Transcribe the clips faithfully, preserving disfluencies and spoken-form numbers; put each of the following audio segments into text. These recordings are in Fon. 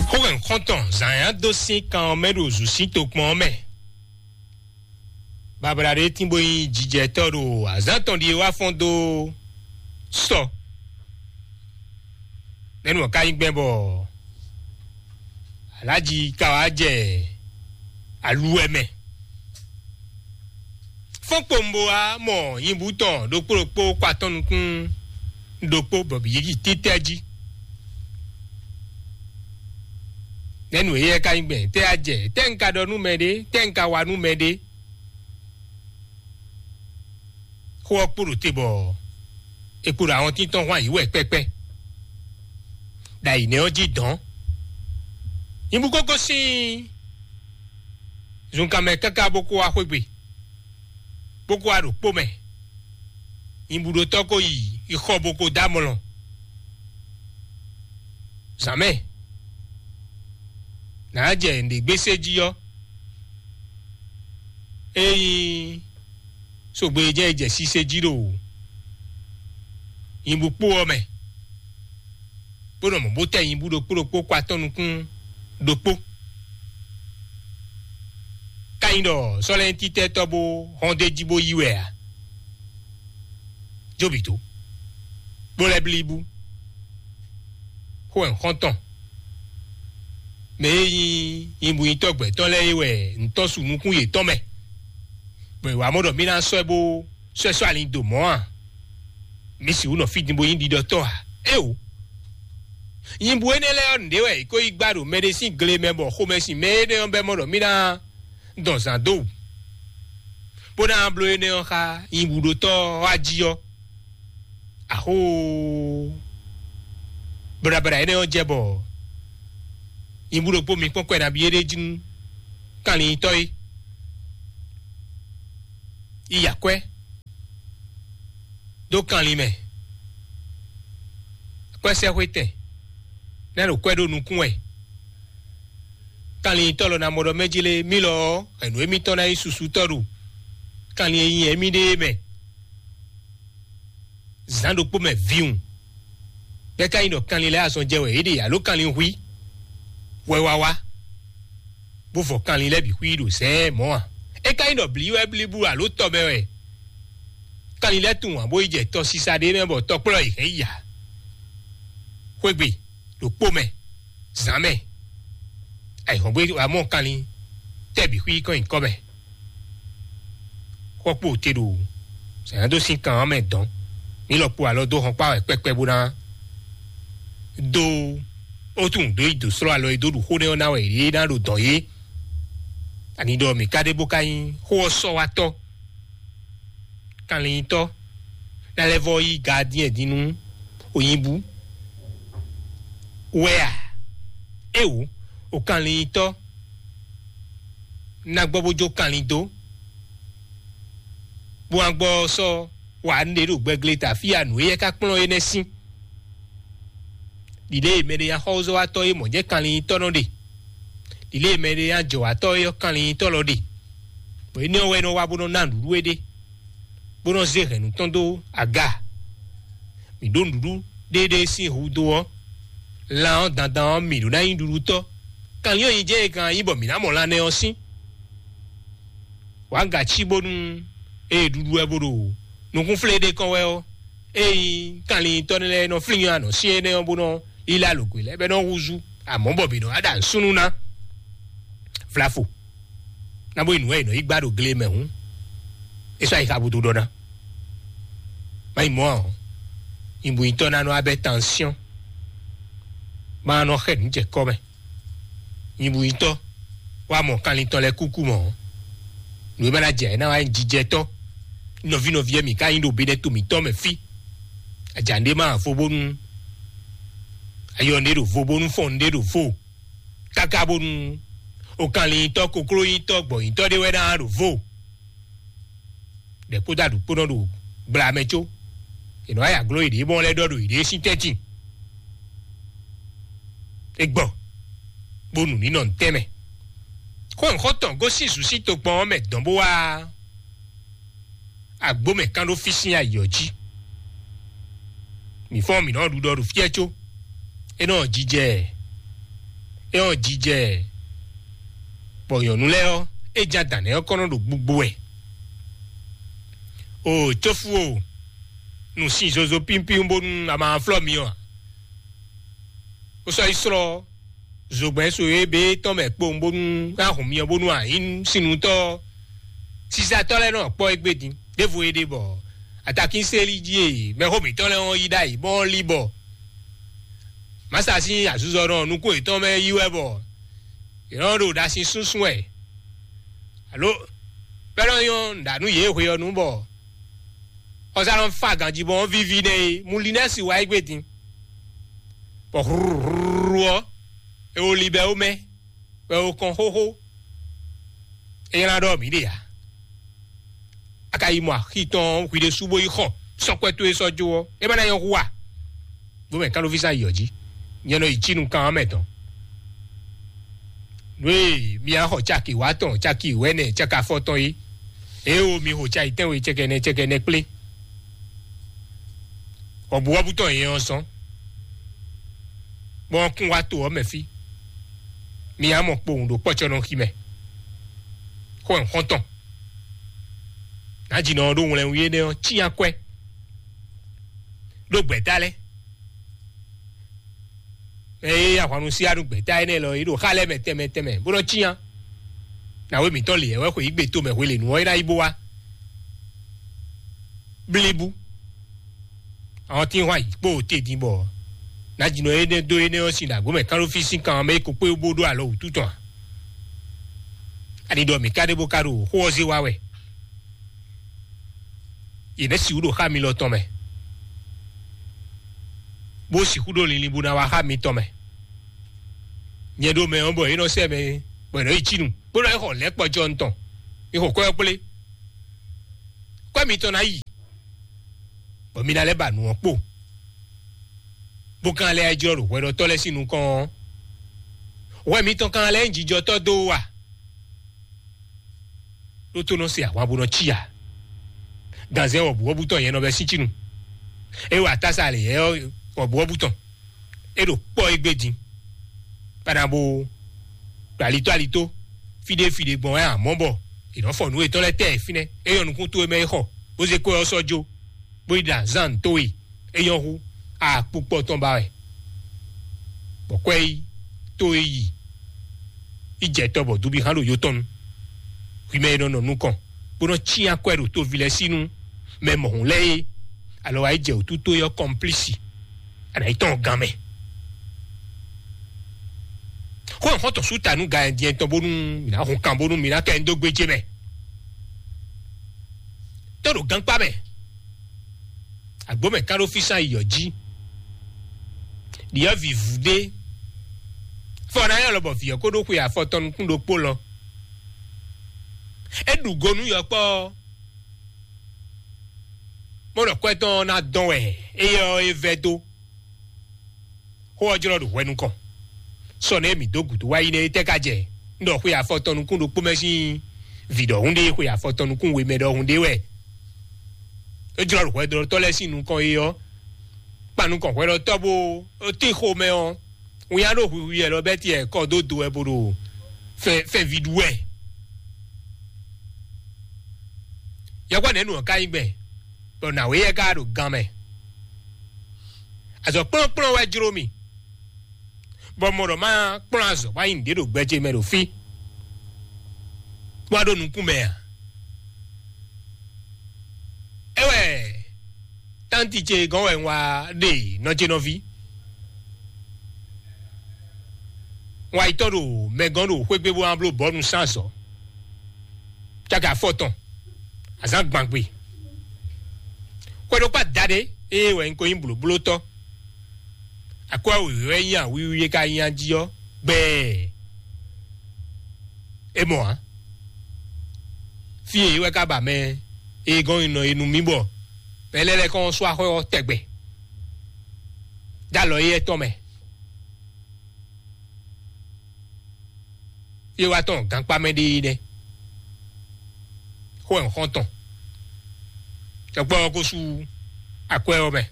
Xó hɛn xɔ́ntɔn zǎn nyá dó sín kan ɔ́ mɛ ɖo zǔ sín tokpɔn ɔ́ mɛ. Babla ɖé tín bó nyí jijɛtɔ́ ɖo azǎn tɔn ɖíe wá fɔ́n dó sɔ. Nɛ́nu ɔ́ ka nyí gbɛn bɔ alájí ka wá jɛ aluwɛ mɛ. Fɔ́n kpowun bó wá mɔ nyibú tɔn ɖokpó ɖokpó kɔ atɔn nukún ɖokpó bɔ bǐ yi títɛ́ jí. Nɛ́nu éyɛ́ ka nyí gbɛn tɛ́ a jɛ tɛ́ un ka ɖɔ nú mɛ ɖé tɛ́ un ka wa nú mɛ ɖé. Xó ɔ́ kpo ɖo te bɔ è kpo ɖo ahɔntín tɔn hwan yǐ wɛ kpɛ́kpɛ́. Ɖo ayǐ nɛ́ ɔ́ jí dɔ̌n. Nyibú kókó sín zunkanmɛ káká bó kó wá xwé gbe, bó kó wá ɖo kpó mɛ. Nyibúɖótɔ́ ko yi yi xɔ bó ko dó amlɔ. Zǎn mɛ nǎ jɛ nǔɖé gbésé jí ɔ́, ényí sogbe e jɛ e jɛ sise jí ɖo nyibú kpó ɔ́ mɛ, bó nɔ mɔ bó tɛ nyibú ɖokpó ɖokpó kɔ atɔ́ nukún ɖokpó. Ka nyí ɖɔ sɔ́lɛ́ntítɛ́tɔ́ bó hɔn d'é jí bó yí wɛ ǎ. Jóbito bó lɛ́ blí bú. Xó wɛ un xɔ́n tɔn. Mɛ e nyí nyibúnyitɔ́ gbɛ̌tɔ́ lɛ́ɛ é wɛ un tɔ́n su nukún yětɔn mɛ, bɔ è wǎ mɔ ɖɔ mì ná sɔ́ ɛ bó sɔ́ ɛ sɔ́ alin dó mɔ̌ a? Mì sixú nɔ fí din bó nyí ɖiɖɔtɔ́ ǎ. Éeǒ! Nyibú énɛ́ lɛ́ɛ ɔ́, nǔɖé wɛ è ko yi gbá ɖo mɛɖé sín gle mɛ bɔ xomɛ sin mɛ énɛ́ ɔ́ bɛ́ mɔ ɖɔ mì ná dɔn zǎn dó wǔ, bó ná bló énɛ́ ɔ́ xá nyibúɖótɔ́ ɔ́ wá jí ɔ́. Axóo! Blabla énɛ́ ɔ́ jɛ bɔ nyibú ɖokpó mi kpɔ́n kwɛ nabí é ɖé jí nú kanlin tɔ́ é. Yi akwɛ́ dó kanlin mɛ. Akwɛ́sɛ́xwétɛn ná ɖo kwɛ́ ɖó nukún wɛ. Kanlin tɔ́ lɔ ná mɔ ɖɔ mɛ jí lé mí lɔ ɔ́, ɛ̌nú émítɔn ná nyí susutɔ́ ɖo kanlin e nyi émí ɖe é mɛ. Zǎn ɖokpó mɛ viwun. Bɛ́ ka nyí ɖɔ kanlin lɛ́ɛ azɔn jɛ wɛ yě ɖe alo kanlin hwí hwɛ wá wá, bó vɔ kanlin lɛ́ɛ bǐ xwí ɖo zɛ̌ɛ́ mɔ̌ a? É ka nyí ɖɔ blǐ wɛ blíbú alo tɔ mɛ wɛ kanlin lɛ́ɛ tunwun ǎ bó yi jɛ tɔsisa ɖé mɛ bɔ tɔkplɔ́ yě hɛn yi ǎ. Xwé gbe ɖo kpó mɛ, zǎn mɛ, ayǐhɔ́ngbe wá mɔ kanlin tɛ́ bǐ xwí kɔn nyǐkɔ mɛ. Xɔ kpo te ɖo sɛ̌n dó sín kan ɔ́ mɛ dɔn. Mǐ lɔ kpo alɔ dó hɔn kpá wɛ kpɛkpɛ bó ná dó ó tunwun dó yi dǒ slɔ́ alɔ e dó ɖu xó nɛ́ ɔ́ ná wɛ yě ná ɖo dɔ̌n é. Ani ɖɔ mǐ ka ɖe bó ka nyí xó ɔ́ sɔ́ wá tɔ́. Kanlin nyitɔ́ ná lɛ́ vɔ́ yí gaadíɛn din nú onyibú wɛ a? Éwǒ, o kanlin nyitɔ́ ná gbɔ bó jó kanlin dó, bó wá gbɔ sɔ́ wa nǔɖé ɖo gbɛgle ta fí a nǔ éyɛ́ ka kplɔ́n énɛ́ sín. Ɖiɖée mɛɖé nyi axɔ́zɔ́watɔ́ e mɔ̌ jɛ́n kanlin nyitɔ́ nɔ ɖe. Ɖiɖée mɛɖé nyi ajɔ̌watɔ́ e ɔ́ kanlin nyitɔ́ lɔ ɖe. Bɔ énɛ́ ɔ́ wɛ nɔ wá bó nɔ ná nǔɖuɖu éɖée, bó nɔ zé hɛ̌nnu tɔn dó aga. Mǐ ɖó nǔɖuɖu ɖéeɖée sín hudó ɔ́, lan ɔ́ dandan ɔ́, mǐ ɖó ná nyí ɖuɖutɔ́. Kanlin ɔ́ nyi jɛ́n e kan nyí bɔ mǐ ná mɔ lan nɛ́ ɔ́ sín. Wǎ gací bónú ée ɖuɖu wɛ bó ɖo nukúnflé ɖé kɔn wɛ ɔ́, ée nyí kanlintɔ́ lɛ́ɛ nɔ flín anɔ̌ syɛ́n énɛ́ ɔ́ bó nɔ lílá lǒgbe lɛ́ɛ bɔ é nɔ húzú, amɔ̌ bɔ mǐ nɔ wá ɖo asúnú ná. Vlafo ná bó yi nǔ wɛ è nɔ yi gbá ɖo gle mɛ hǔn, é sɔ́ ayixa búdú ɖɔ ná. Má yi mɔ̌ ǎ ɔ́, nyibúnyitɔ́ ná nɔ abɛ tansyɔ́n, má nɔ xɛ nǔ jɛ kɔ́ mɛ. Nyibúnyitɔ́ wá mɔ kanlin tɔn lɛ́ɛ kúkú mɔ̌. Nǔ e ma ná jɛ ná wá nyí jijɛtɔ́. Nɔví nɔví e mǐ ka nyí ɖo benɛ́ to mǐtɔn mɛ fí. Aja nɖé ma vo bónú ayɔ nɖé ɖo vo bónú fɔn nɖé ɖo vo. Káká bónú o kanlin nyitɔ́ kokló nyitɔ́ gbɔ̌ nyitɔ́ ɖé wɛ ná ɖo vo. Ɖɛ kpódó aɖǔ kpó nɔ ɖo gbla mɛ có. È nɔ wá yi agló yěɖée bɔ lɛ́ ɖɔ ɖo yěɖée sín tɛ́ntin. É gbɔ bó nu ní nɔ ntɛ́n mɛ. Xó nǔxɔ́tɔn gosín zǔ sín tokpɔn ɔ́ mɛ dɔn bó wá agbó mɛ kán ɖó fí sín ayǐ ɔ́ jí. Mǐ fɔ́n mǐ nɔ ɖu ɖɔ ɖo fí ɛ có. É nɔ jijɛ É ɔ́ jijɛ, bɔ nyɔ̌nu lɛ́ɛ ɔ́, é ján dǎn nɛ́ ɔ́ kɔn nɔ ɖo gbugbo wɛ. O cófu o, nǔ sin zozo pínpín bónú a ma flɔ́ mi ɔ́ ǎ. Ó sɔ́ yi slɔ́ zogbɛ́n so e bé tɔn mɛ kpowun bónú a hun mi ɔ́ bónú a nyǐ sinutɔ́ ɔ́. Sisatɔ́ lɛ́ɛ nɔ kpɔ́ égbé din ɖěvo é ɖe bɔ atakínseli jí e mɛxó mǐtɔn lɛ́ɛ wɔn yí ɖ'ayǐ bɔ ɔ́ lí bɔ mǎsa sín azuzɔnɔ nukún yětɔn mɛ yí wɛ bɔ yě nɔ ɖo ɖasin súnsún wɛ alo pɛ́lɔ nyɔ́ nǔɖanú yě hwe ɔ́ nu bɔ xɔsánɔ fa ganjí bɔ ɔ́ víví nɛ é mú linɛ́si wá égbé din bɔ hlúhlúhlú ɔ́ é wó libɛ ó mɛ bɔ é wó kɔn xóxó. É nylá ɖɔ mǐ ɖe ǎ. A ka yi mɔ axi tɔn hwi ɖésú bó yi xɔ sɔ́kwɛ́ towe sɔ́ jó ɔ́, é ma ná nyɔ́ hu a? Bó mɛ kánɖóví sán yi ɔ́ jí, nyɛ nɔ yi cí nukán ɔ́ mɛ tɔn. Nú e mi á xɔ caki wá tɔn, caki wɛ́nɛ, caki afɔtɔn é, é o mi xo cayi tɛ́nwe cɛkɛnɛ cɛkɛnɛ kplé. Wɔ̌buwɔ́bú tɔn yɛ ɔ́ zɔ́n, bɔ ɔ́ kún wá to ɔ́ mɛ fí. Mi á mɔ kpowun ɖo kpɔ́cɔ́nɔxi mɛ. Xó ɛ xɔ́ntɔn. Nǎjínɔ ɔ́ ɖó wlɛnwí énɛ́ ɔ́ cyán kwɛ́ ɖó gbɛ̌ta lɛ́ɛ. Ée ahwannu sí anú gbɛ̌ta énɛ́ lɔ é ɖo xá lɛ́ɛ mɛ tɛnmɛ tɛnmɛ bó nɔ́ cyán. Nǎwe mǐtɔn lě wɛ xwe yí gbe tomɛ hwelěnu ɔ́ é ná yi bó wá. Blíbú. Àwọn tí ń hwan yǐ kpó te din bɔ nǎjínɔ énɛ́ dó énɛ́ ɔ́ sin ɖo agbǒ mɛ kán ɖó fí sín kan mɛ é ko kpé bó ɖó alɔ wǔtu tɔn ǎ. Ani ɖɔ mǐ ka ɖe bó ka ɖo xó ɔ́ zé wá wɛ. Yě nɛ́ sixú ɖo xá mi lɔ tɔn mɛ, bó sixú ɖo linlin bó ná wá xá mi tɔn mɛ. Nyɛ ɖo mɛ ɔ́ bɔ é nɔ sɛ mɛ bɔ é nɔ yi cí nu, bó nɔ yi xɔ lɛ̌ kpɔjɔ tɔn, mi xɔ kwɛ́ ɔ́ kplé. Kwɛ́ mitɔn ná yi, bɔ mi ná lɛ́ ba nǔ ɔ́ kpo, bó ka lɛ́ jlɔ́ ɖo hwɛɖɔtɔ́ lɛ́ɛ sín nukɔn ɔ́. Hwɛ mitɔn ka lɛ́ nyí jijɔtɔ́ dó wú a? Ɖó tó nɔ se ahwan bó nɔ cí ǎ. Ganzɛ́n wɔ̌buwɔ́bú tɔn nyɛ nɔ bɛ́ sín cí nu. É wa tása lě yɛ wɔ̌buwɔ́bú tɔn. É ɖo kpɔ́ égbé din. Bana bo ɖo alitó alitó, fíɖé fíɖé gbɔn wɛ amɔ̌ bɔ è nɔ fɔ nǔ yětɔn lɛ́ɛ tɛ fínɛ́. É nyɔ́ nukún towe mɛ é xɔ, bó zé kó ɔ́ sɔ́ jó, bó yi ɖo azǎn towe, é nyɔ́ hú akpukpɔ tɔn ba wɛ. Bɔ kwɛ́ yi, towe yi, yi jɛ tɔ bɔ dubi hán ɖo yó tɔn nu. Hwi mɛ e nɔ nɔ nukɔn, bó nɔ cyán kwɛ́ ɖo toví lɛ́ɛ sí nú mɛ mɔ̌hun lɛ́ɛ é, alɔ wá yi jɛ wǔtú towe ɔ́ kɔmplísi. Ana yi tɔn gán mɛ. Xó ɔ́ xɔ́ntɔn sú ta nú ga ɛndiɛn tɔn bónú mǐ ná hun kan bónú mǐ ná kɛ ndó gbéjé mɛ. Tó ɖo gankpá mɛ. Agbǒ mɛ kán ɖó físán yi yɔ̌ jí. Ɖyɔ̌vǐ vú ɖé. Fɔ ná nyɔ́ lɔ bɔ vǐ ɔ́ kó ɖó xwe afɔ tɔn nukún ɖokpó lɔ. É ɖu go nú yɔkpɔ́ ɔ́. Mɔ̌ ɖɔ kwɛ́ tɔn ɔ́ ná dɔn wɛ éyɛ́ ɔ́ é vɛ́ dó. Xó ɔ́ jlɔ́ ɖo hwɛ nukɔn. Sɔ nɛ́ mǐ dó gǔdo wá yi nɛ́ é tɛ́ ka jɛ? Un ɖɔ xwe afɔ tɔn nukún ɖokpó mɛ sín vǐ ɖɔhun ɖé, xwe afɔ tɔn nukún we mɛ ɖɔhun ɖé wɛ. É jlɔ́ ɖo hwɛɖɔtɔ́ lɛ́ɛ sín nukɔn é ɔ́, kpan nukɔn hwɛɖɔtɔ́ bó tín xomɛ ɔ́, winnyá ɖo hwihwi wɛ lɔ bɛ́ tiɛ kɔ dó do wɛ bó ɖo fɛnví ɖu wɛ. Yɔkpɔ́ nɛ̌ nu ɔ́ ka nyí gbɛn, bɔ nǎwe yɛ ka ɖo gan mɛ. Azɔ̌ kplɔ́nkplɔ́n wɛ jló mì, bɔ mɔ ɖɔ má kplɔ́n azɔ̌ bó nyi nǔɖé ɖo gbɛ ce mɛ ɖo fí, bó wá ɖo nukún mɛ ǎ. É wɛ tánti ce gɔ́n wɛ un wá ɖe nɔ ce nɔví. Un wá yi tɔ́n ɖo mɛ gɔ́n ɖo xwé gbe bó wá bló bɔ̌nu sín azɔ̌. Caki afɔtɔn, azǎn gbangbe. Xwedokpá daɖé ée wɛ un ko nyí blǒblótɔ́. Akwɛ́ wěwé wɛ nyí awíwí e ka nyí a jí ɔ́ gbɛɛ. É mɔ ǎ. Fí e wɛ ka ba mɛ e gɔ́n nɔ e nú mì bɔ mɛ lɛ́ɛ lɛ́ kɔn sú axɔ́ ɔ́ tɛgbɛ. Dó alɔ éyɛ́ tɔn mɛ. Fí e wá tɔn gankpá mɛ ɖe é nɛ́. Xó ɛ xɔ́ntɔn. Tɔkpɔ ɔ́ ko sú akwɛ́ ɔ́ mɛ.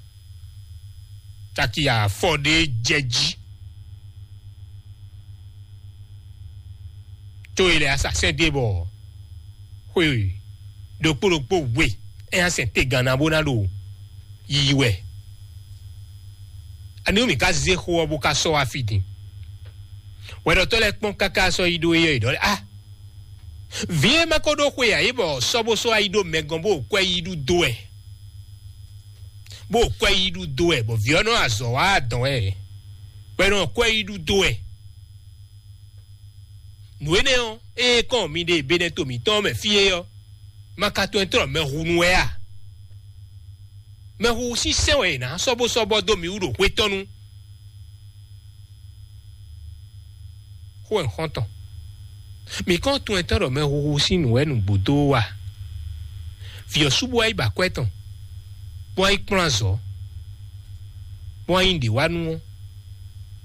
Taki afɔ ɖé jɛ jí. Có e lɛ́ɛ asasɛ́n ɖe bɔ xwe ɖokpó ɖokpó we é nya sɛn te ganna bó ná ɖo yiyi wɛ. Ani mì ka zé xó ɔ́ bó ka sɔ́ wá fí din? Hwɛɖɔtɔ́ lɛ́ɛ kpɔ́n káká sɔ́ yi ɖó éyɛ́, yě ɖɔ lɛ́ɛ: "A, vǐ e ma ko ɖó xwe ǎ é bɔ sɔ́ bó sɔ́ wá yi ɖó mɛ gɔ́n bó kwɛ́ yi ɖu dó wɛ, bó kwɛ́ yi ɖu dó wɛ, bɔ vǐ ɔ́ nɔ azɔ̌ wá adɔn wɛ, bɔ é nɔ kwɛ́ yi ɖu dó wɛ." Nǔ énɛ́ ɔ́, ée kɔn mi ɖe Benɛto mǐtɔn mɛ fí é ɔ́, ma ka tunwun tlɔ́ mɛhunu wɛ a? Mɛhuhu sín sɛ́n wɛ è nǎ sɔ́bɔ́sɔ́bɔ́ dó mǐ wú ɖo hwetɔ́nu. Xó e xɔ́ntɔn, mǐ kɔn tunwun tɔn ɖɔ mɛhuhu sín nǔ wɛ nǔgbó dó wú a? Vǐ ɔ́ sú bó wá yi ba akwɛ́ tɔn, bó wá yi kplɔ́n azɔ̌, bó wá yi ɖě wá nú ɔ́,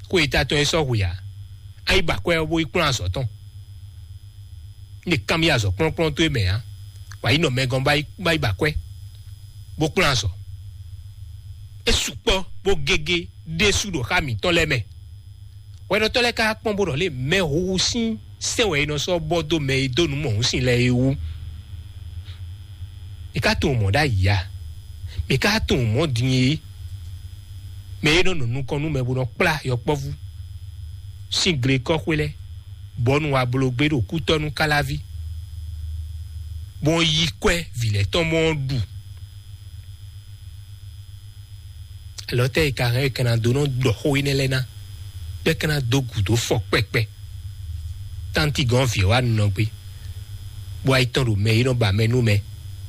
xó e ta tɔn e sɔ́ hwe ǎ. A yi ba akwɛ́ ɔ́ bó yi kplɔ́n azɔ̌ tɔn. Ní è kanbyɔ́ azɔ̌ kplɔ́nkplɔ́n towe mɛ ǎ, wǎ yi nɔ mɛ gɔ́n bá yi bá yi ba akwɛ́, bó kplɔ́n azɔ̌. É sukpɔ́ bó gégé ɖésú ɖo xá mǐtɔn lɛ́ɛ mɛ. Hwɛɖɔtɔ́ lɛ́ɛ ka kpɔ́n bó ɖɔ lě mɛ huhu sín sɛ́n wɛ è nɔ sɔ́ bɔ dó mɛ e dó nǔ mɔ̌hun sin lɛ́ɛ é wú. Mi ka tunwun mɔ̌ ɖ'ayǐ a? Mi ka tunwun mɔ̌ din é? Mɛ e nɔ nɔ nukɔn nú mɛ bó nɔ kplá yɔkpɔ́vú sín glekɔ́xwé lɛ́ɛ, bɔ nú wa bló gbé ɖo kútɔ́ nú káláví, bó yi kwɛ́ vǐ lɛ́ɛ tɔn mɔ ɔ́ ɖu. Alɔ tɛ́ e ka hɛn e ka ná dó nɔ ɖɔ xó énɛ́ lɛ́ɛ ná, bɔ é ka ná dó gǔdo fɔ kpɛkpɛ? Tánti gɔ́n vǐ ɔ́ wá nɔ gbé, bó wá yi tɔ́n ɖo mɛ e nɔ ba mɛ nú mɛ,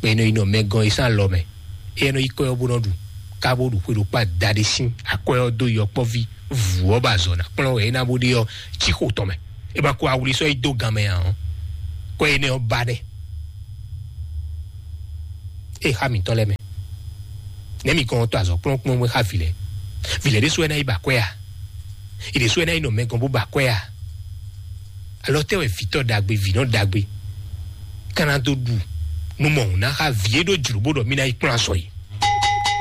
mɛ e nɔ yi nɔ mɛ gɔ́n é sín alɔ mɛ. Éyɛ́ nɔ yi kɔ́ ɔ́ bó nɔ ɖu, ká bó ɖu xwe ɖokpó adaɖé sín akwɛ́ ɔ́ dó yɔkpɔ́ví vǔ ɔ́ ba azɔ̌ ná kplɔ́n wɛ é ná bó ɖe ɔ́, cí xo tɔn mɛ. É ba ko awli sɔ́ yi dó gan mɛ ǎ ɔ́, kɔ́ énɛ́ ɔ́ ba nɛ́. É xá mǐtɔn lɛ́ɛ mɛ. Nɛ̌ mi kɔn tɔ azɔ̌ kplɔ́nkplɔ́n xá vǐ lɛ́ɛ? Vǐ lɛ́ɛ ɖésú wɛ ná yi ba akwɛ́ a? Yě ɖésú wɛ ná yi nɔ mɛ gɔ́n bó ba akwɛ́ a? Alɔ tɛ́ wɛ vǐtɔ́ ɖagbe, vǐnɔ ɖagbe, ka ná dó ɖu nú mɔ̌hun ná xá vǐ e ɖó jlǒ bó ɖɔ mì ná yi kplɔ́n azɔ̌ é?